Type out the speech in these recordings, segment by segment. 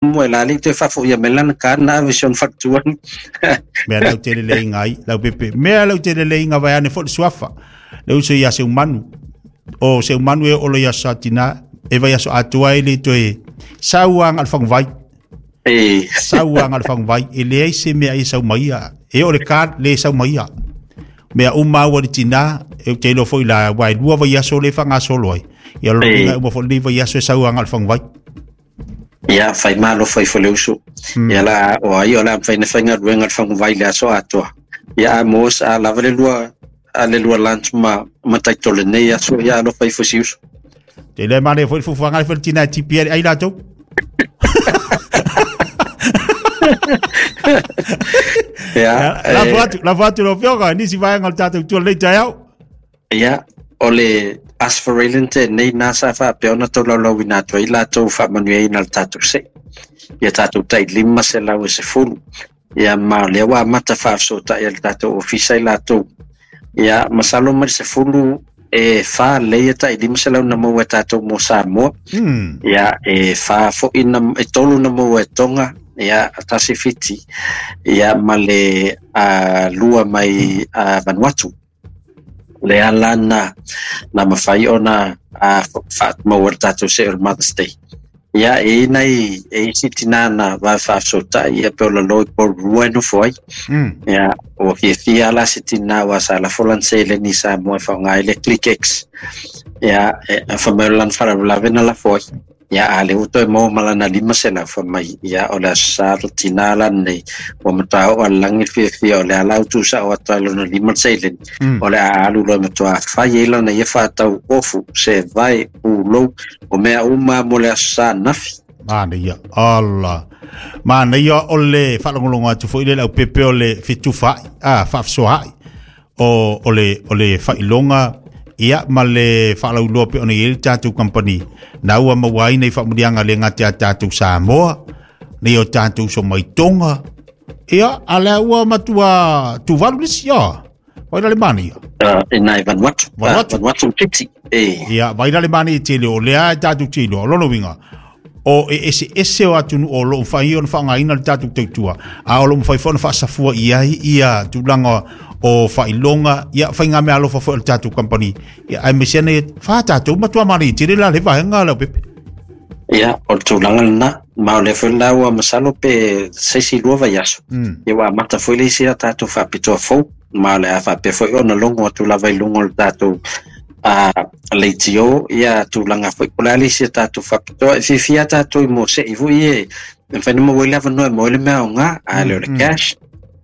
Mo e la le toe faafoia mai lana card na ave si ona faletua. Mea lau tele le inga ai, lau pepe. Mea lau tele le inga vai ane fo le suafa. Le uso ia se umanu. O se umanu e olo ia satina. E vai aso atua e le toe sau anga le fanguvai. E. Sau anga le fanguvai. E leai se mea e sau mai ia. E o le card le sau mai ia. Mea uma ua le tina, e te iloa foi la, wai lua vai aso le whangasolo ai. Ia lo inga uma fo le vai aso e sau anga le fanguvai. Ia, fai malo fai fo le uso. Ia la, o ai o la fai na fai galuega le faguvai le aso atoa. Ia a mos a lava le lua a le lua lunch ma ma taitole nei aso ia alofa ifo si uso. Te le mane foi fufuanga foi tina tipi ai latou. Ia, La fatu, la fatu lo fioga, nisi vaega o le tatou tua lei taeao. Ia, o le Asphorelin tenei na sa faapea ona tolaulauina atu ai latou faamanuiaina le tatou se'i. Ia tatou tai 510. Ia ma o lea ua amata faafesootai e le tatou ofisa i latou. Ia, masalo mai le 10 e fa lelei ia tai 500 na maua e tatou mo Samoa. Ia, e fa foi na, e tolu na maua e Tonga, ia, tasi Fiti, ia, ma le lua mai Vanuatu. Le ala na na mafai ona faamaua le tatou se'e o le Mother's Day. Ia, e i nai e isi tinā na vave faafesootai ia pe o lalo i Porirua e nofo ai. Ia, ua fiafia la se tinā ua sa lafo lana seleni i Samoa e faaaoga ai le ClickX. Ia, e fai mai o lana faalavelave na lafo ai. Ia, a lea ua toe maua ma lana 500 fai mai, ia, o le Aso Sa le tinā la lenei, ua matua oo lava i le lagi le fiafia, o le a la ua tuusao atu ai lona lima le seleni, o le a alu loa e matua fai ai lana ia faatau ofu, sevae, pulou, o mea uma mo le Aso Sa ananafi. Manaia, ala. Manaia o le faalogologo atu foi le laupepe o le fetufaai, a, faafesoaai. O, o le, o le faailoga ia ma le faalauiloa pei ona i ai le tatou company na ua maua ai nei faamanuiaga le gata ia tatou Samoa nei o tatou uso mai Tonga ia a lea ua matua Tuvalu le isi ia vai la le manaia. E nai Vanuatu. Vanuatu. Vanuatu Fiti. E. Ia vai la le manaia tele o lea e tatou te iloa o lona uiga o e eseese o atunuu o lo o mafai ona faaaogaina le tatou tautua, a o lo o mafai foi ona faasafua i ai ia tulaga o faailoga, ia faigameaalofa foi o le tatou kamupani, ia aemaise ane fa tatou matua manaia tele la le vaega Leaupepe. Ia, o le tulaga lena, ma o lea foi la ua masalo pe se isi lua vaiaso, ia ua amata foi le isi a tatou faapitoa fou, ma o le a faapea foi ona logo atu lava i luga o le tatou a leitio ia tulaga foi po o le a le isi a tatou faapitoa. E fiafia lava tatou i mosei foi e mafai ona maua ai le avanoa e maua ai le mea aoga, a le o le cash.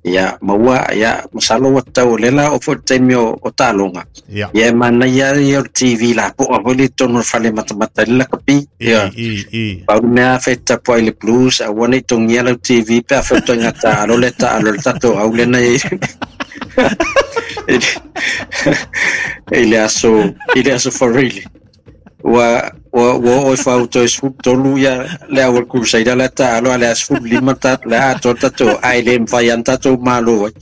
Ia maua, ia masalo ua tatau o lea la oo foi i le taimi o taaloga. Ia. Ia e manaia ia o le TV lapoa foi lea i totonu o le fale e matamata ai le lakapi. Ia. I, i, i. Pau le mea afai e te tapuai i le Blues, aua ne i togia lau TV pe afai o ituaiga taalo lea e taalo ai le tatou au lea na i ai. I le aso i le aso Foreili. Ua ua ua oo ifo au toe 13 ia le au o le Crusader la taalo a le a 15 ta le a atoa tatou ae le mafai lava ona tatou malo ai.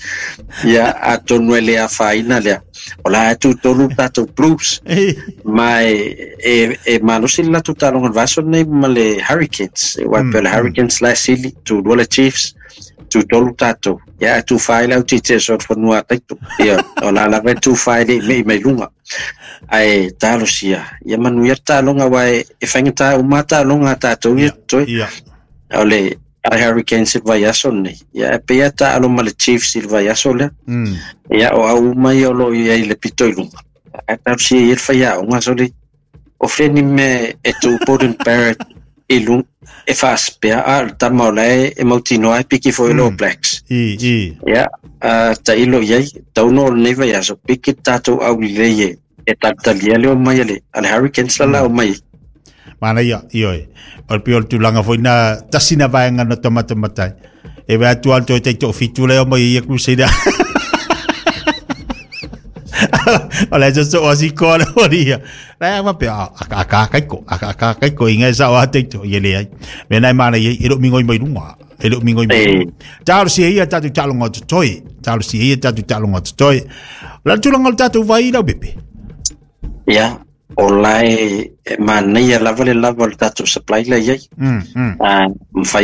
Ia atonu e le afaina lea. O la e tutolu le tatou Blues. Ma e e e malosi le latou taaloga i le vaiaso lenei ma le Hurricanes. Aua e pei o le Hurricanes la e sili, tulua le Chiefs, tutolu tatou. Ia ae tufa ai le au tietie o le fanua a Taito. Ia, o la lava e tufa ai le i mei mai luga. Ae talosia, ia manuia le taaloga aua e, e faigata uma taaloga a tatou ia totoe. Ia. O le a Hurricanes i le vaiaso lenei. Ia e pei lava taalo ma le Chiefs i le vaiaso lea. Ia o au uma ia o lo o i ai i le pito i luga. Ae talosia ia le faiaoga sole. O fea ni mea e tu Beauden Barrett i luga e faaspea a o le tama o la e, e mautinoa e piki foi le All Blacks. I, i. Ia, tailo i ai, tau no o lenei vaiaso, piki le tatou aulelei e, e talitalia le omai a le, a le Hurricanes la la omai. Manaia, ioe. O le pei o le tulaga foi na tasi na vaega na tamatamata ai. E vaai atu lava le toe taitoafitu lea omai ai ia Crusader. O le aso so asiko le horia. La ma pe a a ka kai ko a ka kai ko inga sa o taito i le ai. Me nai mana i e lo mingoi mai lunga. E lo mingoi mai. Talo si ia tatu talonga o toi. Talo si ia tatu talonga o toi. La tulanga o tatu vai lau bebe. Ia, O la e manaia lava le lava o le tatou supply la i ai. Mafai.